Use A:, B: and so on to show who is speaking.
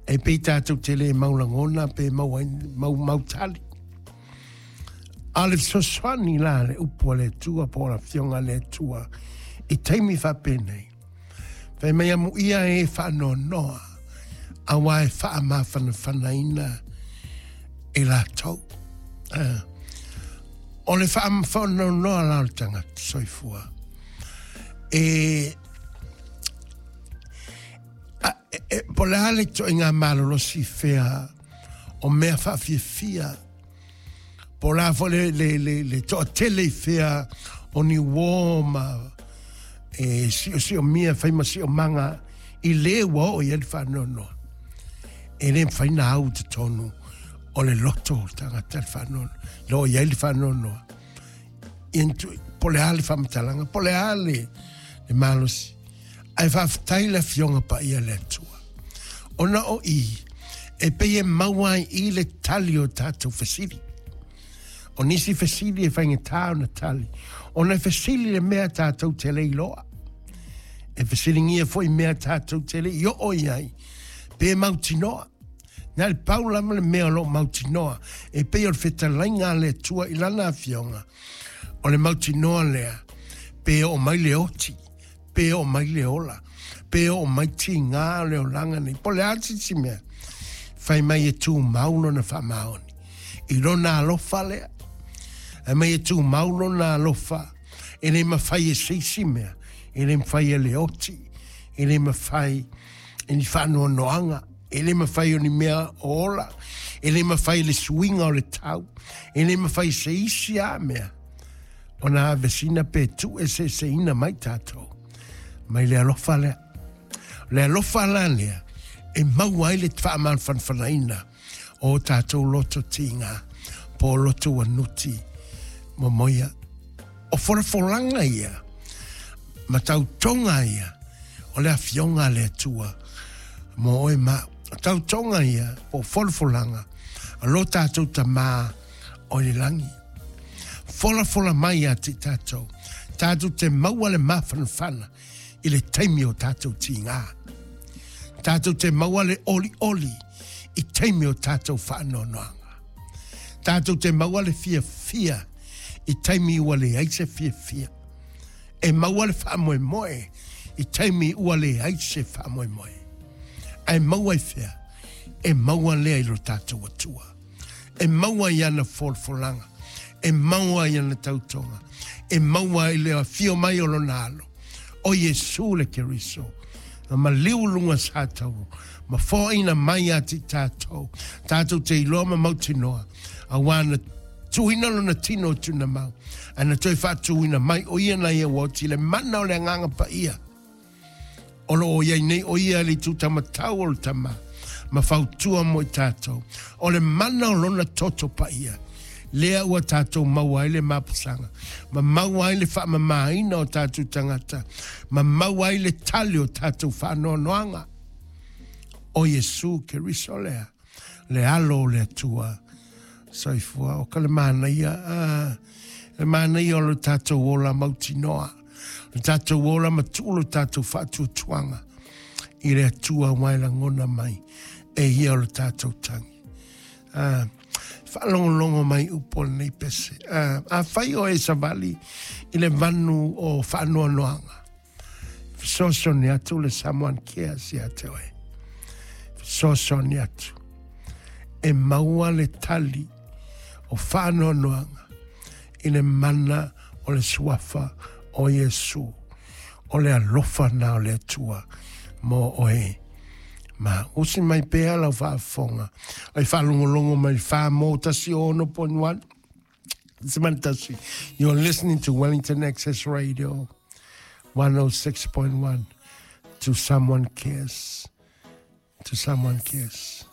A: E pei tatou te le mau lagona pe maua ai mau, mau tali. A o le fesoasoani la le upu a le Atua po o le Afioga a le Atua i taimi faapenei, fai mai amuia e faanoanoa, auā e faamafanafanaina e latou. O le faanoanoa la o le tagata soifua, e e, po o le a le ituaiga malolosi fea o mea faafiafia, po o le a foi le, le, le, le toatele i fea o ni uō ma e siosiomia fai ma siomaga i le ua oo i ai le faanoanoa. E le mafai ona au i totonu o le loto o le tagata le faanoanoa, le oo i ai le faanoanoa. Ia po o le a le faamatalaga, po o le a le, le malosi, Ae faafetai le Afioga Paia le Atua, ona o i e pei e maua ai i le tali o tatou fesili. O nisi fesili e faigata ona tali, ona e fesili le mea tatou te le iloa. E fesiligia foi mea tatou te le i oo i ai, pe mautinoa. Na le pau lava le mea o lo o mautinoa, e pei o le fetalaiga a le Atua i lana Afioga, o le mautinoa lea, pe oo mai le oti, pe oo mai le ola, pe oo mai tigā o le olaga nei, po o le a se isi mea, fai mai e tumau lona faamaoni i lona alofa lea. Fai mai e tumau lona alofa, e le mafai e se isi mea, e le mafai e le oti, e le mafai e ni faanoanoaga, e le mafai o ni mea o ola, e le mafai e le suiga o le tau, e le mafai e se isi lava mea ona avesina pe tuueseeseina mai tatou mai le alofa lea. O le alofa la lea e maua ai le faamafanafanaina o tatou loto tiga po o loto ua nuti momoia. O folafolaga ia ma tautoga ia o le afioga a le Atua mo oe ma au. O tautoga ia po o folafolaga a lo tatou Tamā o i le lagi. Folafola mai ia te tatou, tatou te maua le mafanafana i le taimi o tatou tigā. Tatou te maua le olioli i taimi o tatou faanoanoaga. Tatou te maua le fiafia i taimi ua leai se fiafia. E maua le faamoemoe i taimi ua leai se faamoemoe. Ae maua i fea? E maua lea i lo tatou Atua. e maua i ana folafolaga, e maua i ana tautoga, e maua i le afio mai o lona alo, o Iesu le Keriso, na maliu luga satauro, ma foaina mai ia te tatou, tatou te iloa ma mautinoa, auā na tuuina lona tino i tunamau, ae na toe faatuina mai o ia na ia ua oti le mana o le Agaga Paia. O lo o i ai nei o ia le itutamatau o le Tama, ma fautua mo i tatou. O le mana o lona toto paia, lea ua tatou maua ai le mapusaga, ma maua ai le faamamaina o tatou tagata, ma maua ai le tali o tatou faanoanoaga. O Iesu Keriso lea, le Alo o le Atua. Soifua, o ka le manaia, ah, le manaia o lo tatou ola mautinoa. Lo tatou ola ma tuu lo tatou faatuatuaga i le Atua aua e lagona mai e ia o lo tatou tagi. Ah, faalogologo mai upu o lenei pese. Ah, afai o e savali i le vanu o faanoanoaga, fesoasoani atu le Samoan Cares ia te oe. Fesoasoani atu. E maua le tali o faanoanoaga i le mana o le suafa o Iesu. O le alofa na o le Atua mo oe. Ma usi mai pea lau faafofoga ai faalogologo mai le 4 mo 1 6.1. You're listening to Wellington Access Radio 106.1 to Someone Cares. To Someone Cares.